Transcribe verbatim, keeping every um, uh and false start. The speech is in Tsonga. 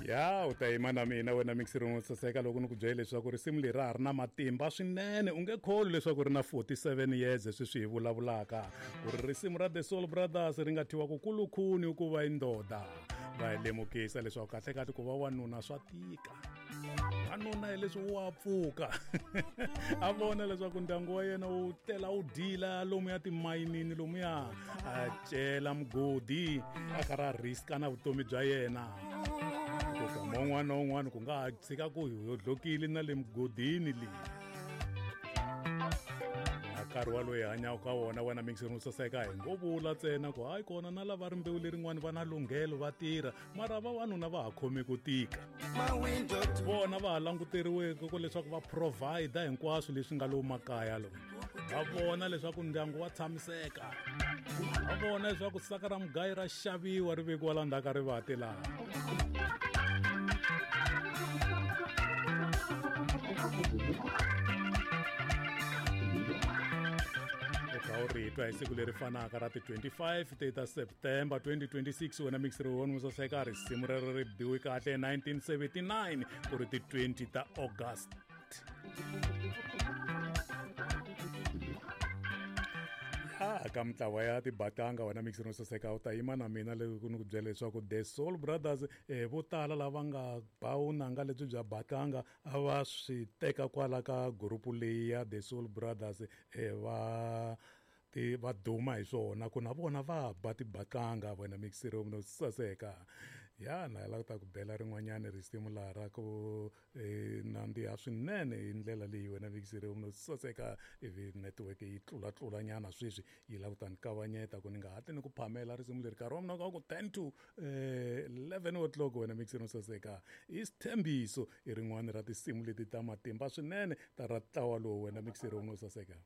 Ya u ta yima na mina wena mixer wo saseka loko ni ku byela leswaku risimu leri ra ha ri na matimba swinene u nge kholi leswaku ri na forty-seven years sweswi hi vulavulaka ku ri risimu ra The Soul Brothers ri nga thyiwa ku kulukhuni ku va indoda va hi lemukisa leswaku kahlekahle ku va wanuna swa tika wanuna hi leswi wa pfuka a vona leswaku ndyangu wa yena wu tela wu dila lomuya timayinini lomuya a cela mugodi a karhi a riska na vutomi bya yena ku un'wana na un'wana ku nga ha tshika ku hi hodlokile na le mugodini leyi na nkarhi wa loyi hanyaka ka wona wena mixer wo saseka hi ngo vula ntsena ku hayi kona na lava rimbewu lerin'wani va na lunghelo va tirha mara vavanuna va ha khome ku tika vona va ha languteriweke ku leswaku va provide hinkwaswo leswi nga lowu makaya lowu va vona leswaku ndyangu wa tshamiseka va vona leswaku saka ra mugayi ra xaviwa ri vekiwa la ndzhaku ka rivati laha u ri twa hi siku leri fanaka ra ti twenty-five ta September twenty twenty-six wena mixer wo saseka risimu rero ri biwe kahle nineteen seventy-nine ku ri ti twenty ta August. Ah, ka mintlawa ya tibatanga wena mixer wo saseka u ta yima na mina loko ni ku byela leswaku The Soul Brothers eh, vo tala lava nga ba vunanga lebyi bya batanga a va swi teka kwala ka gurupu leyi ya The Soul Brothers eh, va ti va duma hi swona ku na vona va ba tibatanga wena mixer wo saseka ya na la ta ku bela rin'wanyana risimu laha ra ku eh, nandziha swinene hi ndlela leyi wena mixer wo saseka ivi network yi tlulatlulanyana sweswi yi lava ku ta ni kavanyeta ku ni nga hatli ni ku phamela risimu leri nkarhi wa mina ka ku ten to eleven o'clock wena mixer wo saseka i Sithembiso i rin'wana ra tinsimu leti ta matimba swinene ta ra ntlawa lowu wena mixer wo saseka.